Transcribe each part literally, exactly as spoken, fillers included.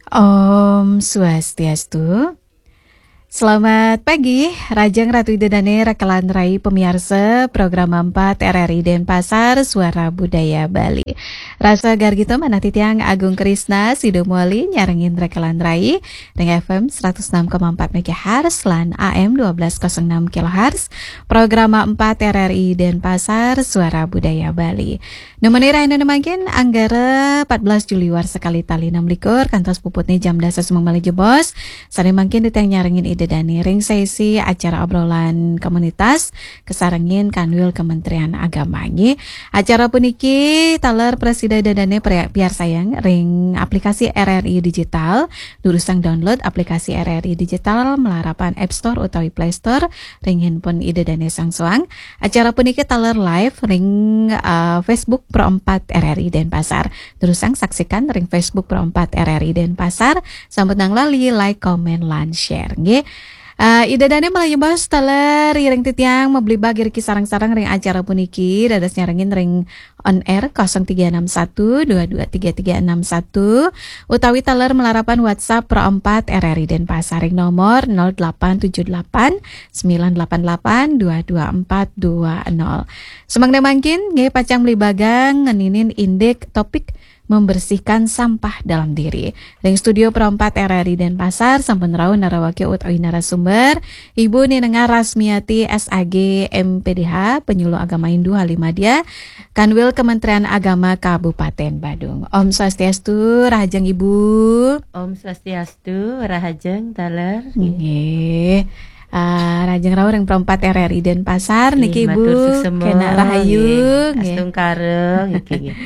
Om Swastiastu. Selamat pagi, Rajeng Ratu Ida Dane, Rekelan Rai, pemiarsa Program empat R R I Denpasar, Suara Budaya Bali. Rasa gargita manah titiang Agung Krisna, Sido Muali, nyarengin Rekelan Rai, ring F M seratus enam koma empat megahertz lan A M dua belas kosong enam kilohertz, Program empat R R I Denpasar, Suara Budaya Bali. Nemeni rahina mangkin, Anggara empat belas Juli warsa kalih tali enam likur, kantos puputne jam dasa semeng malih jebos. Sane mangkin titiang nyarengin Ida Dane ring sesi acara obrolan komunitas, kasarengin Kanwil Kementerian Agama, nggih. Acara puniki taler prasida Ida Dane pri-, piarsayang ring aplikasi R R I Digital, durusang download aplikasi R R I Digital malarapan App Store utawi Play Store ring handphone Ida Dane soang-soang. Acara puniki taler live ring, eh, Facebook Pro empat R R I Denpasar. Durusang saksikan ring Facebook Pro empat R R I Denpasar. Sampunang lali like, comment, lan share, nggih. Eh, Ida Dane malih jebos taler ring titiang mablibag iriki sareng-sareng ring acara puniki, dados nyarengin ring on air kosong tiga enam satu dua dua tiga tiga enam satu, utawi taler malarapan WhatsApp Pro empat R R I Denpasar ring nomor nol delapan tujuh delapan sembilan delapan delapan dua dua empat dua nol. Semangda mangkin, nggih, pacang blibagang ngeninin indik topik membersihkan sampah dalam diri. Ring studio Pro empat R R I Denpasar, sampun rauh narawake utawi narasumber, Ibu Ninengah Rasmiati, S A G, M P D H, Penyuluh Agama Hindu Halimadya, Kanwil Kementerian Agama Kabupaten Badung. Om Swastiastu, rahajeng Ibu. Om Swastiastu, rahajeng taler. Nggih. Ah, rahajeng rauh ring Pro empat R R I Denpasar niki, Ibu. Matur suksema, kena rahayu, nggih. Nggih. Astungkara, niki, nggih.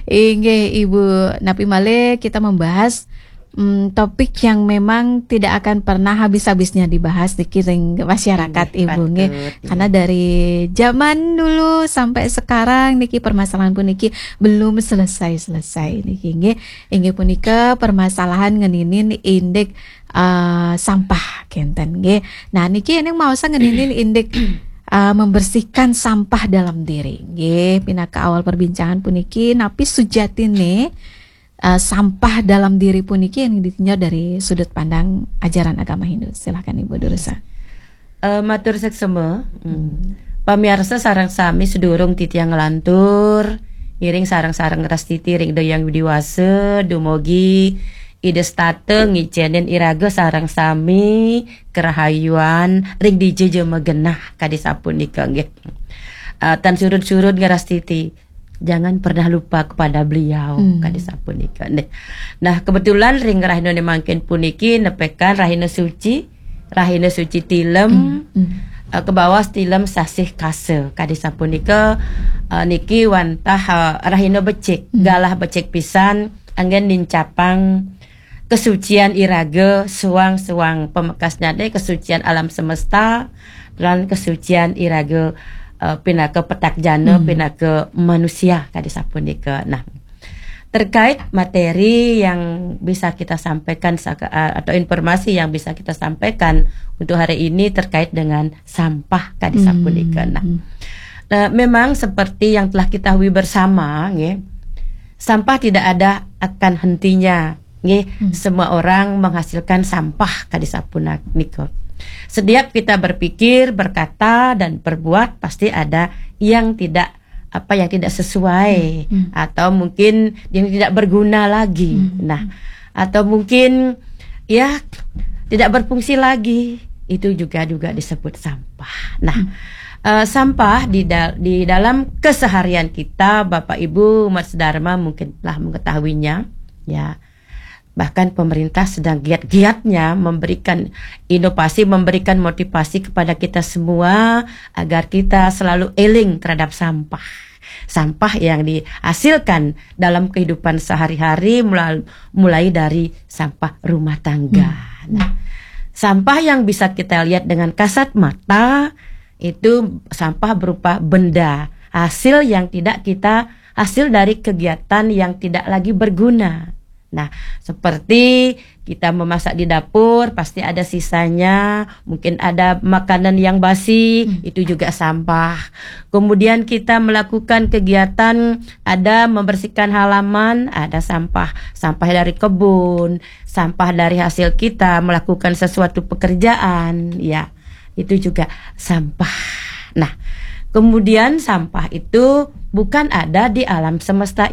Inggih, Ibu. Napi malih kita membahas, mm, topik yang memang tidak akan pernah habis-habisnya dibahas niki ring masyarakat, nggih, Ibu, nggih. Patut, nggih. Karena dari zaman dulu sampai sekarang niki permasalahan puniki belum selesai-selesai niki, nggih. Inggih punika permasalahan ngeninin indik, eh, sampah kenten, nggih. Nah, niki ening maosan ngeninin indik, eh, membersihkan sampah dalam diri, nggih. Pinaka awal perbincangan puniki, napi sujatine, eh, sampah dalam diri puniki yang ditinjau dari sudut pandang ajaran agama Hindu. Silahkan, Ibu, durusang. Eh, matur suksema. Hmm. Pamiarsa sareng sami, sedurung titiang nglantur, ngiring sareng-sareng rastiti ring Ida Hyang Widhi Wasa, dumugi Ida setata ngicenin iraga sareng sami karahayuan ring dija ja magenah, kadi sapunika, nggih. Eh, tan surud-surud ngrastiti, jangan pernah lupa kepada beliau, hmm, kadi sapunika. Nah, nah, kebetulan ring rahina mangkin puniki nepekan rahina suci, rahina suci Tilem, hmm, hmm, eh, kabaos Tilem Sasih Kasa, kadi sapunika, eh, niki wantah, eh, rahina becik, hmm, galah becik pisan, anggen nincapang kesucian iraga suang-suang, pamekasnyane kesucian alam semesta, lan kesucian iraga, eh, pinaka petak jana, hmm, pinaka manusia, kadi sapunika. Nah, terkait materi yang bisa kita sampaikan saka-, eh, atau informasi yang bisa kita sampaikan untuk hari ini terkait dengan sampah, kadi sapunika. Nah, hmm, nah, memang seperti yang telah kita ketahui bersama, nggih, sampah tidak ada akan hentinya. Nggih, hmm, semua orang menghasilkan sampah, kadi sapunika. Setiap kita berpikir, berkata, dan berbuat, pasti ada yang tidak, apa, yang tidak sesuai, hmm, hmm, atau mungkin yang tidak berguna lagi. Hmm. Nah, atau mungkin, ya, tidak berfungsi lagi. Itu juga, juga disebut sampah. Nah, hmm, eh, sampah di dal-, di dalam keseharian kita, Bapak Ibu umat sedharma mungkin telah mengetahuinya, ya. Bahkan pemerintah sedang giat-giatnya memberikan inovasi, memberikan motivasi kepada kita semua agar kita selalu eling terhadap sampah. Sampah yang dihasilkan dalam kehidupan sehari-hari, mulai, mulai dari sampah rumah tangga. Hmm. Nah, sampah yang bisa kita lihat dengan kasat mata itu sampah berupa benda, hasil yang tidak kita, hasil dari kegiatan yang tidak lagi berguna. Nah, seperti kita memasak di dapur, pasti ada sisanya, mungkin ada makanan yang basi, itu juga sampah. Kemudian kita melakukan kegiatan, ada membersihkan halaman, ada sampah. Sampah dari kebun, sampah dari hasil kita melakukan sesuatu pekerjaan, ya. Itu juga sampah. Nah, kemudian sampah itu bukan ada di alam semesta